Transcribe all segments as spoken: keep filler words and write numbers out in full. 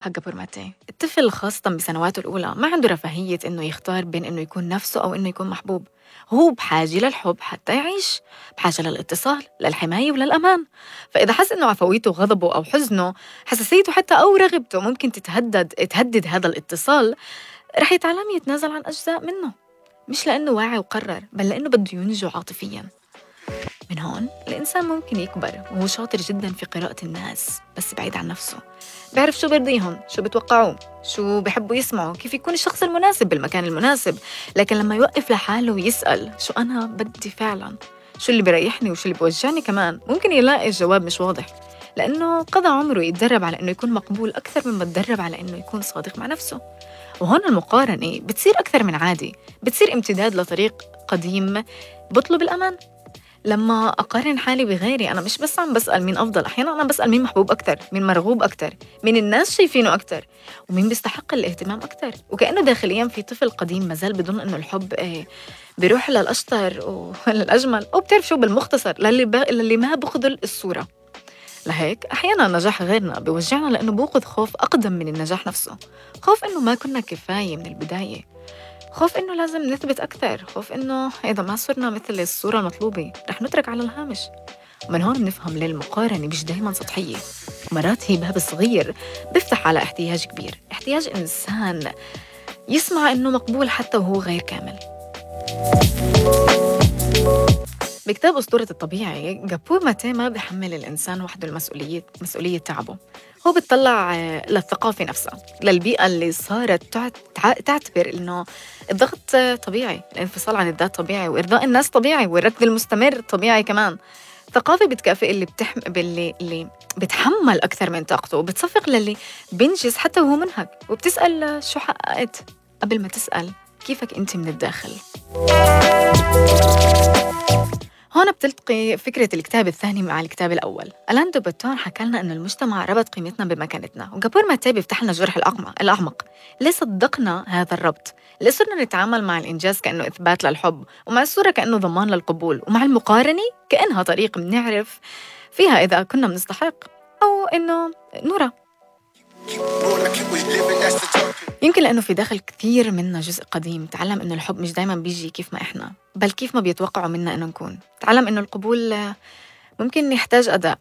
حق برمتي الطفل خاصة بسنواته الأولى ما عنده رفاهية إنه يختار بين إنه يكون نفسه أو إنه يكون محبوب. هو بحاجة للحب حتى يعيش، بحاجة للاتصال، للحماية وللأمان. فإذا حس إنه عفويته غضبه أو حزنه حساسيته حتى أو رغبته ممكن تتهدد تهدد هذا الاتصال، رح يتعلم يتنازل عن أجزاء منه، مش لأنه واعي وقرر بل لأنه بده ينجو عاطفياً. من هون الإنسان ممكن يكبر وهو شاطر جداً في قراءة الناس بس بعيد عن نفسه، بيعرف شو بيرضيهم، شو بتوقعوه، شو بيحبوا يسمعوا، كيف يكون الشخص المناسب بالمكان المناسب. لكن لما يوقف لحاله ويسأل شو أنا بدي فعلاً، شو اللي بيريحني وشو اللي بيوجعني كمان، ممكن يلاقي الجواب مش واضح، لأنه قضى عمره يتدرب على إنه يكون مقبول أكثر مما تدرب على إنه يكون صادق مع نفسه. وهون المقارنة بتصير أكثر من عادي، بتصير امتداد لطريق قديم بطلب الأمان. لما أقارن حالي بغيري أنا مش بس عم بسأل مين أفضل، أحيانا أنا بسأل مين محبوب أكتر، مين مرغوب أكتر، مين الناس شايفينه أكتر، ومين بيستحق الاهتمام أكتر. وكأنه داخليا في طفل قديم مازال بظن إنه الحب إيه بيروح للأشطر وللأجمل، أو بتعرف شو بالمختصر للي, ب... للي ما بخذل الصورة. لهيك أحيانا نجاح غيرنا بيوجعنا لأنه بوقظ خوف أقدم من النجاح نفسه، خوف إنه ما كنا كفاية من البداية، خوف إنه لازم نثبت أكثر، خوف إنه إذا ما صرنا مثل الصورة المطلوبة رح نترك على الهامش. ومن هون بنفهم ليه المقارنة مش دايماً سطحية، مرات هي باب صغير بيفتح على احتياج كبير، احتياج إنسان يسمع إنه مقبول حتى وهو غير كامل. بكتاب أسطورة الطبيعي جابور ماتي ما بيحمل الإنسان وحده المسؤولية مسؤولية تعبه، هو بيطلع للثقافة نفسها، للبيئة اللي صارت تعتبر إنه الضغط طبيعي، الانفصال عن الذات طبيعي، وإرضاء الناس طبيعي، والركض المستمر طبيعي كمان. ثقافة بتكافئ اللي بتحم... باللي اللي بتحمل أكثر من طاقته، وبتصفق للي بينجز حتى وهو منهك، وبتسأل شو حققت قبل ما تسأل كيفك أنت من الداخل. هون بتلتقي فكرة الكتاب الثاني مع الكتاب الأول. ألان دو بوتون حكى لنا إنه المجتمع ربط قيمتنا بمكانتنا، وجابور ماتي بيفتح لنا الجرح الأعمق. ليه صدقنا هذا الربط؟ ليه صرنا نتعامل مع الإنجاز كأنه إثبات للحب، ومع الصورة كأنه ضمان للقبول، ومع المقارنة كأنها طريق بنعرف فيها إذا كنا بنستحق أو إنه نرى؟ يمكن لأنه في داخل كثير منا جزء قديم تعلم إنه الحب مش دايماً بيجي كيف ما إحنا، بل كيف ما بيتوقعوا منا إنه نكون. تعلم إنه القبول ممكن يحتاج أداء،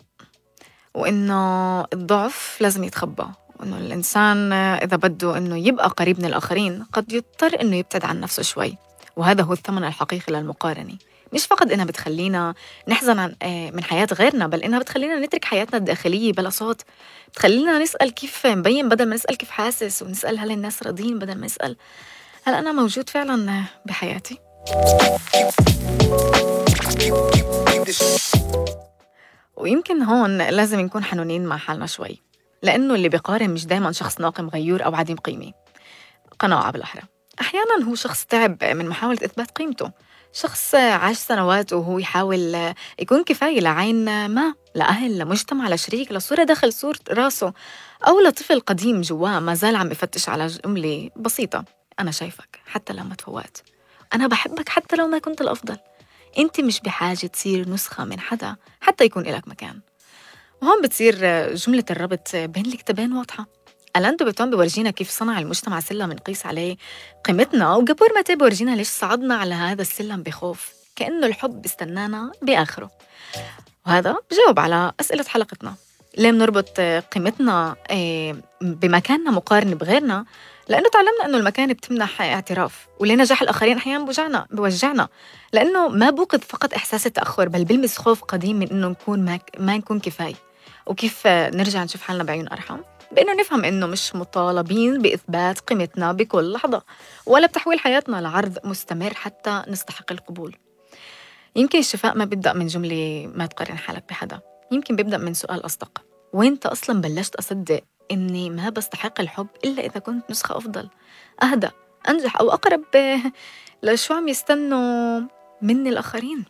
وإنه الضعف لازم يتخبى، وإنه الإنسان إذا بده إنه يبقى قريب من الآخرين قد يضطر إنه يبتعد عن نفسه شوي. وهذا هو الثمن الحقيقي للمقارنة، مش فقط إنها بتخلينا نحزن عن من حياة غيرنا، بل إنها بتخلينا نترك حياتنا الداخلية بلا صوت، بتخلينا نسأل كيف مبين بدل ما نسأل كيف حاسس، ونسأل هل الناس راضين بدل ما نسأل هل أنا موجود فعلا بحياتي. ويمكن هون لازم نكون حنونين مع حالنا شوي، لأنه اللي بيقارن مش دايما شخص ناقم غيور أو عديم قيمة، قناعة بالأحرى. أحياناً هو شخص تعب من محاولة إثبات قيمته، شخص عاش سنوات وهو يحاول يكون كفاية لعين ما، لأهل، لمجتمع، لشريك، لصورة داخل صورة راسه، أو لطفل قديم جواه ما زال عم يفتش على جملة بسيطة: أنا شايفك حتى لو ما تفوقت، أنا بحبك حتى لو ما كنت الأفضل، أنت مش بحاجة تصير نسخة من حدا حتى يكون إلك مكان. وهون بتصير جملة الربط بين الكتابين واضحة. ألان دو بوتون بورجينا كيف صنع المجتمع سلم نقيس عليه قيمتنا، وجابور ماتي بورجينا ليش صعدنا على هذا السلم بخوف، كأنه الحب بيستنانا بآخره. وهذا بجاوب على أسئلة حلقتنا: ليه بنربط قيمتنا بمكاننا مقارن بغيرنا؟ لأنه تعلمنا أنه المكان بتمنح اعتراف. وليه نجاح الآخرين أحيانا بوجعنا بوجعنا؟ لأنه ما بوقظ فقط إحساس التأخر، بل بلمس خوف قديم من أنه نكون ما, ما نكون كفاية. وكيف نرجع نشوف حالنا بعيون أرحم؟ بأنه نفهم إنه مش مطالبين بإثبات قيمتنا بكل لحظة، ولا بتحويل حياتنا لعرض مستمر حتى نستحق القبول. يمكن الشفاء ما بيبدأ من جملة ما تقارن حالك بحدا، يمكن بيبدأ من سؤال أصدق: وين أنت أصلاً بلشت أصدق إني ما بستحق الحب إلا إذا كنت نسخة أفضل، أهدى، أنجح، أو أقرب لشو عم يستنوا مني الآخرين؟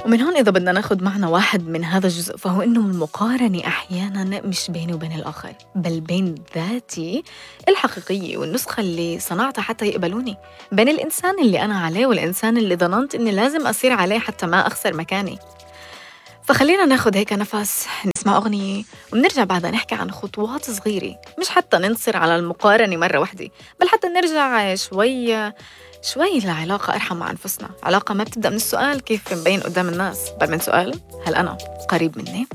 ومن هون إذا بدنا ناخد معنا واحد من هذا الجزء، فهو إنه المقارنة أحياناً مش بيني وبين الآخر، بل بين ذاتي الحقيقية والنسخة اللي صنعتها حتى يقبلوني، بين الإنسان اللي أنا عليه والإنسان اللي ظننت إني لازم أصير عليه حتى ما أخسر مكاني. فخلينا ناخد هيك نفس، نسمع أغنية وبنرجع بعدها نحكي عن خطوات صغيرة، مش حتى ننصر على المقارنة مرة واحدة، بل حتى نرجع شوي شوي لعلاقة أرحم مع أنفسنا. علاقة ما بتبدأ من السؤال كيف مبين قدام الناس، بل من سؤال هل أنا قريب مني؟